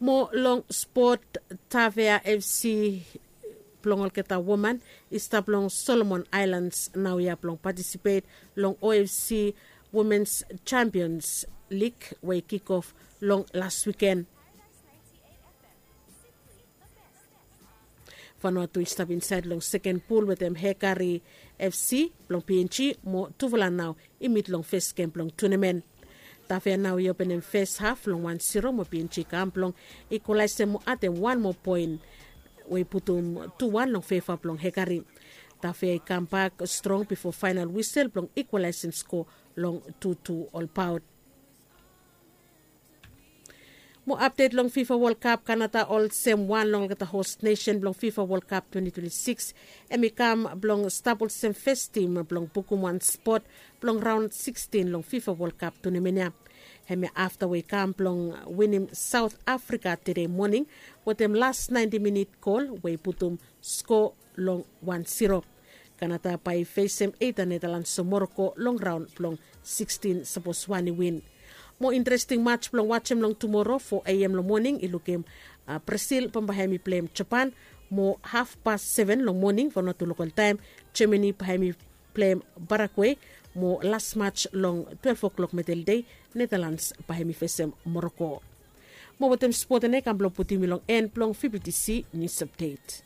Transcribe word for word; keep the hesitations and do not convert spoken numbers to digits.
Mo long spot, Tavea FC blong olgeta woman i stap long Solomon Aelans naoia blong patisipet long OFC Womens Champions Lig we i kikof long las wiken. Vanuatu i stap insaed long seken pul wetem Hekari FC blong PNG mo tufala nao i mit long fes gem blong tunamen. Tafea nao i openem fes haf long wan siro mo PNG i kam blong ikwalaesem mo adem wan moa poen we i putum tu wan long feva blong Hekari. Tafea i kambak strong bifo faenal wisel blong ikwalaesem sko long tu tu olbaot. Mo apdet long Fifa Wol Kap, Kanada olsem wan long olgeta hos nesen blong Fifa Wol Kap twenti twenti sikis, hem i kam blong stap olsem fes tim blong bukum wan spot blong raon sikstin long Fifa Wol Kap tunamen ya. Hem ya afta we i kam blong winim Saot Afrika tede moning wetem las naenti minit gol we i putum sko long wan siro. Kanada bae i fesem eida Nedalans o Moroko long raon blong sikstin sapos wan i win. Mo interesting mats blong wajem long tumoro fo A M long moning i lukim Brasil bambae hem i pleim Japan. Mo hafpas seven long moning Vanuatu lokal taem, Jamani bae hem i pleim Paraguay. Mo las mats long twelef o'klok medeldei, Nedalans bae hem i fesem Moroko. Mo wetem spot ene i kam blong putum yu long en blong VBTC nius apdet.